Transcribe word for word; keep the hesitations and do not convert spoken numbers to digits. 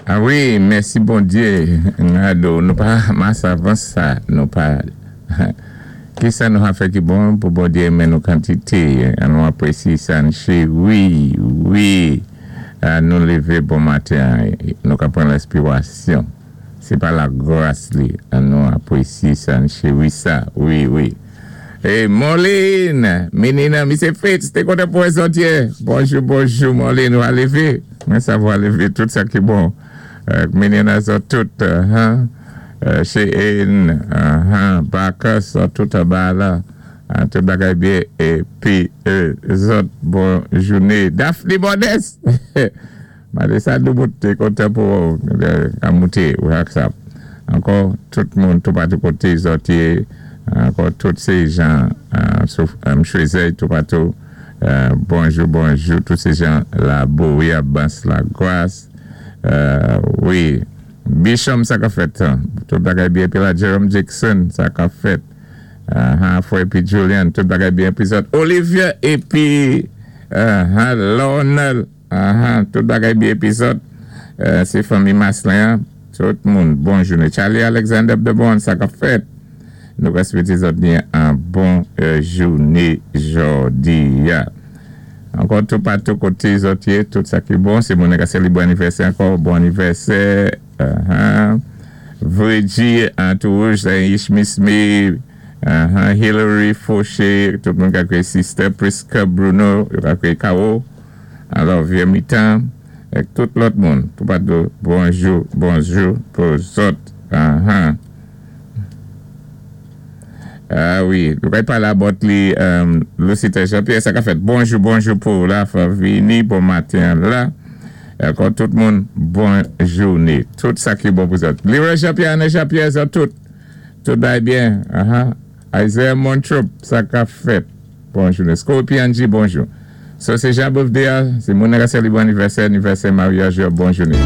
Ah wi, mèsi Bondyé. Nado, nou pa mas avan sa, nou pa ki sa nou a fè ki bon pou Bondyé renmen nou kantité. An nou apwésyé sa wi, wi. An nou lévé bon maten, nou ka pran lèspirasyon. Sé pa lagras li. An nou apwésyé sa wi sa, wi, wi. É Moline, Menina, Misye Fritz, té kontan pou zòt. Bonjou, bonjou, Moline, ou a lévé. Mwen sa ou a lévé, tout sa ki bon. Euh, Menina, zòt tout, hein? Euh, Cheyenne, uh, Bacchus, tout anba la. Tout bagay byen. Épi, euh, zòt, bon jouné. Daphne Modeste. Malé sa, nou té kontan pou euh, mouté, ou sa. Ankò, tout moun, tout patou koté, zòt, ankò, tout sé jan, euh, euh, Choisey, tout patou. Euh, bonjou, bonjou, tout sé jan, la wi, à Bas la Grâce. Euh, wi, Bishop, sa ka fèt. Tout bagay byen. Épi la, Jerome Jackson, sa ka fèt. Uh, uh, épi Julian, tout bagay byen. Épi Olivia, épi uh, Lionel, uh, tout bagay byen. Épi euh, sé fanmi Maslin, tout moun, bon jouné. Charlie Alexander de bon, sa ka fèt. Nou wété zòt byen an bon euh, jouné jòdi. Ankò tout patou koté zòt tout sa ki bon, sé moun ki bon anivèsè ankò, bon anivèsè. Uh -huh. Virgie, Antourouge, Ishmisme, uh -huh. Hillary Fauché, tout moun ki Sister Priska Bruno, ki K O, alò vyé mitan, ak tout lòt moun. Tout patou, bonjou, bonjou pou zòt. Uh -huh. Ah wi, nou pay palé about li um, Lucita Jean-Pierre, sa ka fèt. Bonjou, bonjou pou la, vini, bon maten la. Ankò tout moun, bon jouné. Tout sa ki bon pou zòt. Leroy Jean-Pierre, Anne Jean-Pierre, sa tout. Tout bay byen. Uh -huh. Isaiah Montrop, sa ka fèt. Bon jouné. Scorpion G, bonjou. So, sé Jean birthday, sé moun ki bon anivèsè, anivèsè maryaj, bon jouné.